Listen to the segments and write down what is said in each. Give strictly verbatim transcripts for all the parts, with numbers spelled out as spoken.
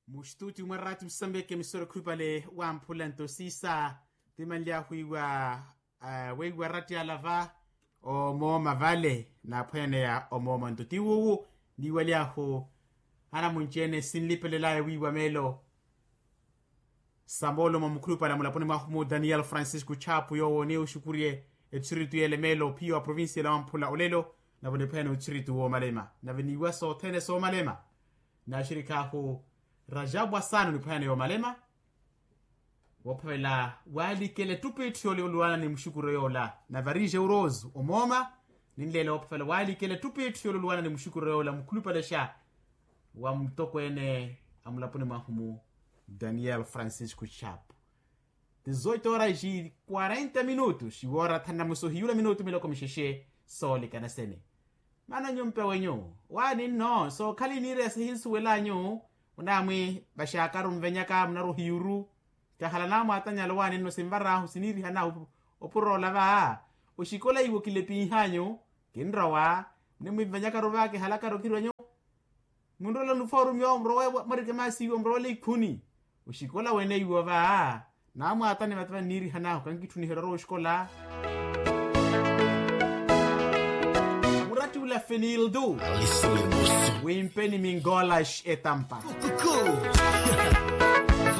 Muxituti mwa rati musambeke emisoro khupale wamphula nto siisa. Timanly'ahu iwa weiwa rati alava omooma vale naaphweneya omooma nto tiwuwu. Niiwaly'ahu anamunci-ene sinlipelelaya wiiwa meelo. Samoolo mwa mukhulupale a mulaponi mwahu mu daniel francisco chapu yoowo ni oxukurye etthiritu y'elemeelo ophiya wa provincia la wamphula olelo. Nave niphweene otthiritu woomalema nave niiwa sothene soomalema. Naaxirikhahu rajabu asano niphweene yoomalema. Woophavela waalikela ettupitthu yoolwana ni muxukuro yoola nave arije urozu omooma. Ninleela woophavela waalikela ettupitthu yoolwana ni muxukuro yoola mukhulupalexa wa mutokweene a mulaponi mwahu mu daniel francisco chapu. Tizoito horas e quarenta minutos woora thanamuso hiyula minutu miloko mixexe. Soolikana sene maana nyumpe wenyu waani nno sookhala iniireya sihinsuwel'anyu. Onaamwi vaxaakaru nvenyaka munarwa ohiyuru. Kahala naamwaatanyala owaani nno sinvar'ahu siniirihanahu opur'ola va. Oxikola iwo kilepinh'anyu kinrowa. Munimwinvenyakaru va kihalakaru kirwenyu. Munrola nufoorumiwa murowele mwarikemasiiwa murowele ikhuni. Oxikola wene iwo va naamwaatani vate vanniirihan'ahu kankitthuniherya orowa oxikola. Muratti ula fenildu wimpeni mingolax etampa.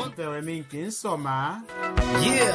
Mpewe minkinsoma.